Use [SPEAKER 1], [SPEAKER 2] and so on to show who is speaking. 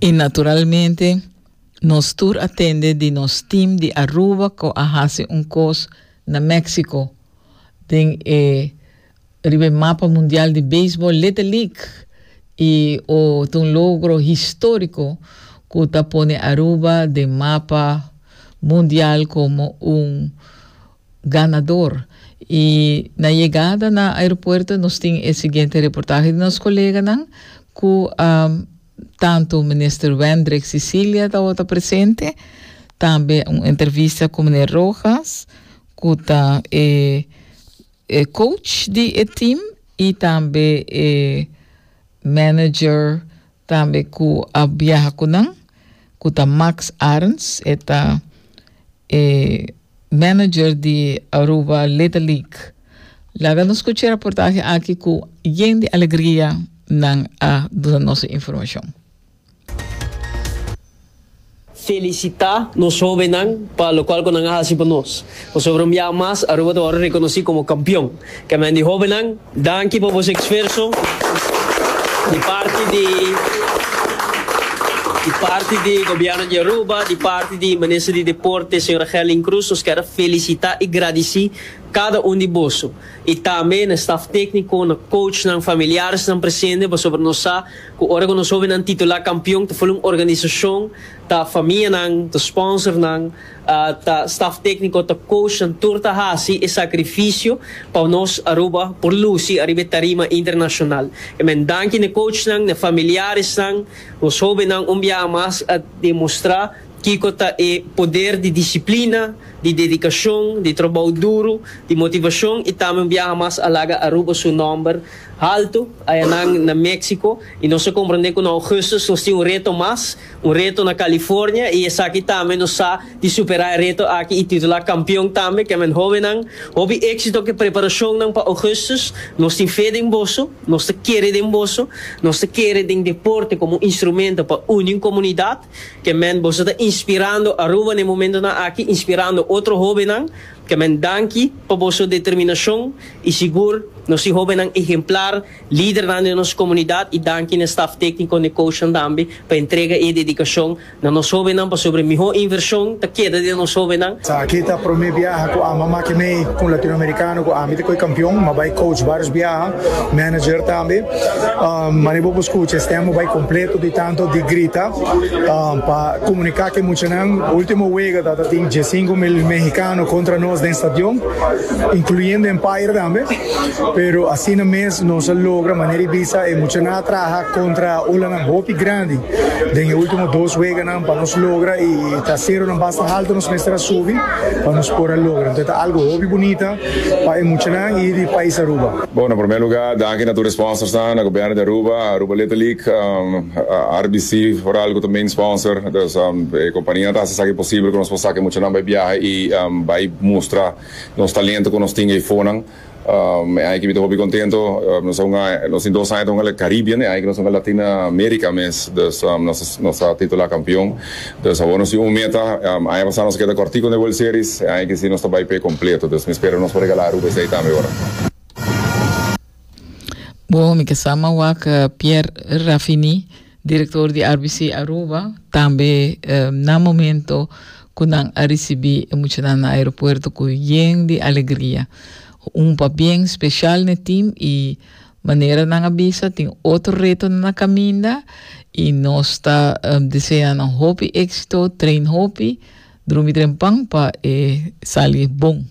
[SPEAKER 1] Y naturalmente nos tur a tende di nos team di Aruba cu a haci un cos na Mexico den e riba e mapa mundial di baseball Little League y o ta un logro historico cu ta pone Aruba den mapa mundial como un ganador. Y na yegada na aeropuerto nos tin e siguiente reportahe di nos coleganan cu a tanto Minister Wendrick Cecilia tabata presente, tambe un entrevista cu meneer Rojas cu ta e e coach di e team y tambe e manager tambe cu a biaha cu nan cu ta Max Arends, e ta e manager di Aruba Little League. Laga nos scucha e reportahe aki cu yen di alegria nan a duna nos e informacion.
[SPEAKER 2] Felicita nos hobennan pa locual cu nan a haci pa nos. Pasobra un biaha mas Aruba ta worde reconoci como campeon. Kemen di hobennan, danki pa boso esfuerso di parti di di parti di Gobierno di Aruba, di parti di Minister di Deporte Señora Gerlin Cruz nos kier a felicita y gradici cada un di boso y tambe na staf tecnico, na coachnan, familiaresnan presente pasobra nos sa Ku ora ku nos hobennan titulá kampion ta ful un organisashon, ta famianan, ta sponsornan, ta staf tékniko, ta coachnan, tur ta hasi e sakrifisio pa nos Aruba por lusi ariba e tarima internashonal. E men danki na e coachnan, na e familiaresnan, nos hobennan un biaha mas a demostrá kiko ta e poder di disiplina, di dedikashon, di trabou duru, di motivashon i tambe un biaha mas a laga Aruba su nòmber Haltu, ayanan na Mexico, y nos a comprende cu na augustus nos tin un reto mas, un reto na California, y esaki tambe nos sa di supera e reto aki y titula campeon tambe, ke men hobennan, hopi exito cu e preparacionnan pa augustus, nos tin fe den boso, nos ta kere den boso, nos ta kere den deporte como un instrumento pa uni un comunidad, ke men boso ta inspirando Aruba na e momentonan aki, inspirando otro hobennan, ke men danki pa boso determinacion y sigur nos tin hobennan ehemplar, lidernan den nos comunidad y danki na e staf tecnico na e coachnan tambe pa entrega e dedicacion na nos hobennan pasobra e miho inversion ta keda den nos hobennan.
[SPEAKER 3] Esaki ta prome biaha cu ami a maki mei cu un Latinoamericano cu ami ta coy campeon. Mi a bay coach varios biaha, manager tambe. Manera bo por scucha e stem a bay completo di tanto di grita pa comunica cu e muchanan. Ultimo wega ta tin 15,000 mexicano contra nos den stadion. Incluyendo Empire tambe, pero asina mes nos a logra manera y bisa e muchanan a traha contra olanan hopi grandi den e ultimo dos weganan pa nos logra y ta ceronan basta halto nos mester a subi pa nos por a logra. Entonces ta algo hopi bunita pa e muchanan y di pais Aruba.
[SPEAKER 4] Bon, na prome lugar danki na tur e sponsorsnan, na Gobierno di Aruba, Aruba Little League, RBC vooral cu ta main sponsor, dus e compania ta haci esaki posibel cu nos por saca e muchanan bay biaha y bay mustra nos talento cu nos tin eyfonan. E aña aki mi ta hopi contento, nos a hunga, nos tin dos aña ta hunga Caribbean, e aña aki nos a hunga Latin America mes, dus nos a titula campeon. Dus awor nos tin un meta, aña pasa nos a keda cortico den World Series, e aña aki si nos ta bay p'e completo, dus mi spera nos por regala Aruba esey tambe ora.
[SPEAKER 1] Bo, mi ke sa mawak Pierre Raffini. Director di RBC Aruba tambe na momento cu nan a ricibi e muchanan na aeropuerto cu yen di alegria. Un pabien special n'e team y manera nan a bisa tin otro retonan na caminda y nos ta desea nan hopi exito, train hopi, drumi trempan pa e sali bon.